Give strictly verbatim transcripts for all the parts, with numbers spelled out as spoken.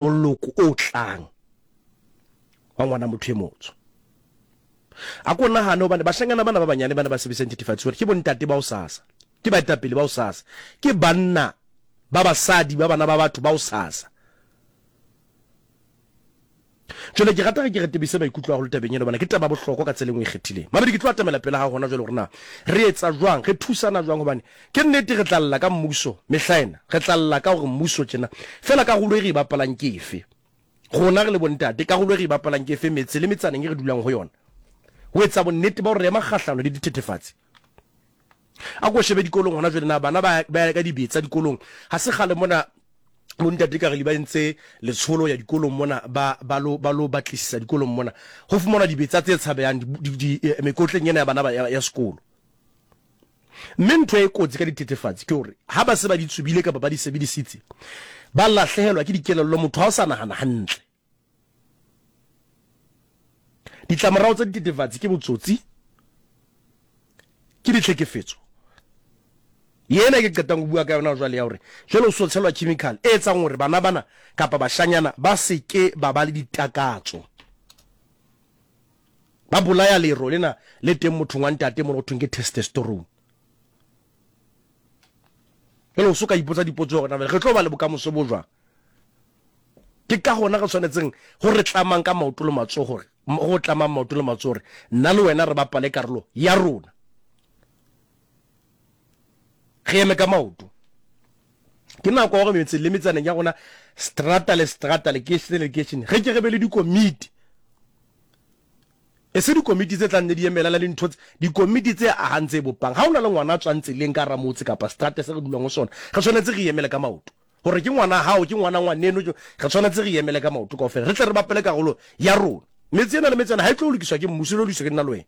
Moloko o tlang wa ngwana motho e motsho. A ko nahane hobane bashanyana bana ba banyane bana ba sebedisang dithethefatsi hore ke bontate ba hosasa, ke baetapele ba hosasa, ke banna ba basadi ba bana ba batho ba hosasa. Jwale ke rata ge ke re tebise maikutlo haholo tabeng ena hobane ke taba ya bohlokwa ka tsela e nngwe e ikgethileng. Mabedi ke tlo atamela pela hao hona jwale hore na re etsa jwang, re thusana jwang hobane ke nnete re tla lla ka mmuso mehla ena, re tla lla ka hore mmuso tjena. Feela karolo e re e bapalang ke efe? Rona re le bontate karolo e re e bapalang ke efe metse le metsaneng e re dulang ho yona ho etsa bonnete ba hore re ema kgahlano le dithethefatsi? A ko shebe dikolong hona jwale na bana ba ba ya ka dibetsa dikolong. Ha se kgale mona bontate ka re ba entse letsholo ya dikolong mona ba ba lo ba lo batlisisa dikolong mona ho fumanwa dibetsa tse tshabehang di, di, eh, mekotleng ena ya bana ba ya, ya sekolo. Mme ntho e kotsi ka dithethefatsi ke hore ha ba se ba di tsubile kapa ba di sebedisitse ba lahlehelwa ke dikelello, motho ha o sa nahana hantle. Ditlamorao tsa dithethefatsi ke botsotsi, ke ditlhekefetso. Yena ke qetang ho bua ka yona jwale ya hore jwale o so tshelwa chemical e etsang hore bana bana kapa bashanyana ba se ke ba ba le ditakatso. Ba bolaya lero lena le teng mothong wa ntate mona ho thweng ke testosterone. Jwale o so ka ipotsa dipotso hore na re tlo ba le bokamoso bo jwang. Ke ka hona re tshwanetseng ho re tlamang ka maoto le matsoho hore go tlamang maoto le matsoho hore nna le wena re bapale karolo ya rona. Re eme ka maoto. Ke nako ya hore metseng le metsaneng ya rona strata le strata lekeishene le lekeishene re ke re be le dikomiti. E se dikomiti tse tlang ne di emela le dintho tse dikomiti tse ahang tse bopang. Ha o na le ngwana a tswang tseleng ka hara motse kapa strata se re dulang ho sona, re tshwanetse re emele ka maoto. Hore ke ngwana hao, ke ngwana ngwaneno, re tshwanetse re emele ka maoto kaofela. Re tle re bapale karolo ya rona. Metse ena le metsana ha e tlo lokiswa ke mmuso, e tlo lokiswa ke nna le wena.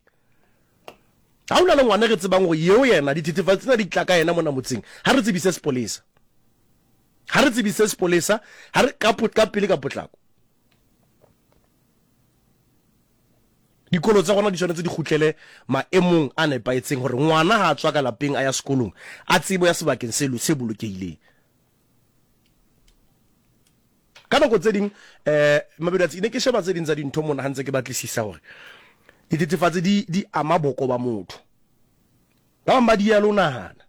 Ha o na le ngwana re tsebang hore yeo yena dithethefatsi tsena di tla ka yena mona motseng, ha re tsebise sepolesa. Ha re tsebise sepolesa, ha re ka ka pele ka potlako. Dikolo tsa rona di tshwanetse di kgutlele maemong a nepahetseng hore ngwana ha a tswa ka lapeng a ya sekolong a tsebo ya sebakeng se se bolokehileng. Ka nako tse ding eh Mabedatsi ne ke sheba tse ding tsa dintho mona ha ntse ke batlisisa hore dithethefatsi di di ama boko ba motho. Ba bang ba di ya le ho nahana.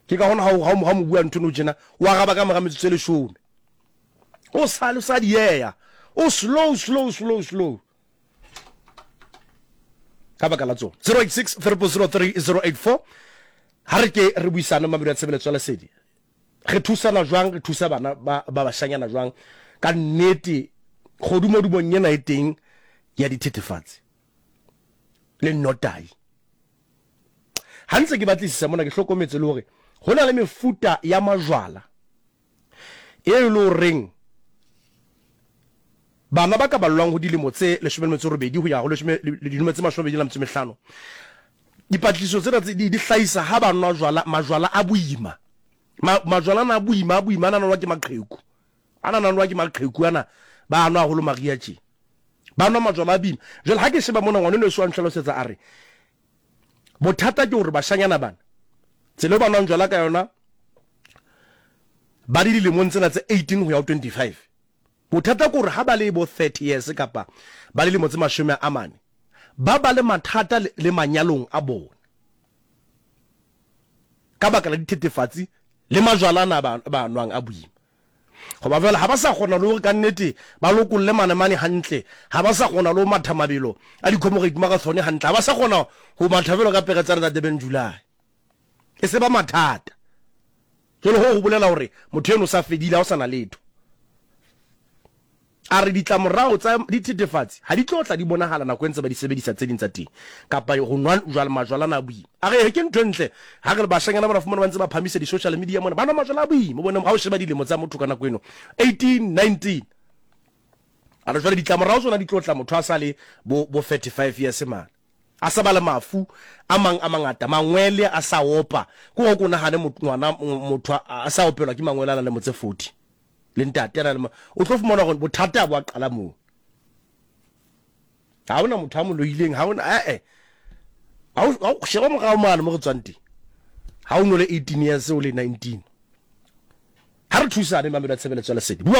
Ke ka hona ha ha ha mo bua ntho no tjena o araba ka mora metsotso e leshome. O sa le sa dieya. O slow slow slow slow. Ka baka la tsona. zero eight six triple zero three zero eight four ha re ke re buisane Mamedu ya tshebeletso ya lesedi. Re thusana jwang, re thusa bana ba ba bashanyana jwang ka nnete kgodumodumong ena e teng ya dithethefatsi le nnotai. Ha ntse ke batlisisa mona ke hlokometse le hore ho na le mefuta ya majwala e le horeng bana ba ka ballwang ho dilemo tse leshome le metso e robedi ho ya ho leshome dilemo tse mashome a mabedi le metso e mehlano. Dipatlisiso tsena tse di hlahisa ha ba nwa jwala majwala a boima. Ma, majwala ana a boima a boima ana nwa ke maqheku. Ana nwa ke maqheku ana ba nwa haholo maria tje. Ba nwa majwala a boima. Jwale ha ke sheba mona ngwana eno so a nhlalosetsa a re bothata ke hore bashanyana bana tsela ba nwang jwala ka yona ba di dilemong tsena tse eighteen ho ya ho twenty-five. Bothata ke hore ha ba le bo thirty years kapa ba le dilemo tse mashome a mane ba ba le mathata le manyalong a bona ka baka la dithethefatsi le majwala ana ba ba nwang a boima. Goba jwale ha ba sa kgona le hore ka nnete ba lokolle manemane hantle, ha ba sa kgona le ho matha mabelo a di-Comrade Marathon hantle, ha ba sa kgona ho matha jwalo ka pere tsane tsa Durban July. E se ba mathata. Jwale hoo ho bolela hore motho eno o sa fedile, ha o sa na letho. A re ditlamorao tsa dithethefatsi ha di tlo tla di bonahala nako e ntse ba di sebedisa tse ding tsa teng kapa ho nwa jwala majwala ana a boima. A re ke ntho e ntle ha re le bashanyana bana fumana ba ntse ba phamisa di-social media mona ba nwa majwala a boima. O bone ha o sheba dilemo tsa motho ka nako eno eighteen, nineteen. A re jwale ditlamorao tsona di tlo tla motho a sa le bo bo thirty-five years mane. A sa ba le mafu a mang a mangata, mangwele a sa opa. Ke hore o nahane ngwana motho a sa opelwa ke mangwele a na le motse forty. Le ntate a na le o tlo fumana hore bothata bo a qala moo. Ha hona motho a mo loileng, ha hona eh eh. Ha o sheba morao mane mo re tswang teng. Ha o no le eighteen years o le nineteen. Ha re thusane, mamelo ya Tshebeletso ya Lesedi. Bua.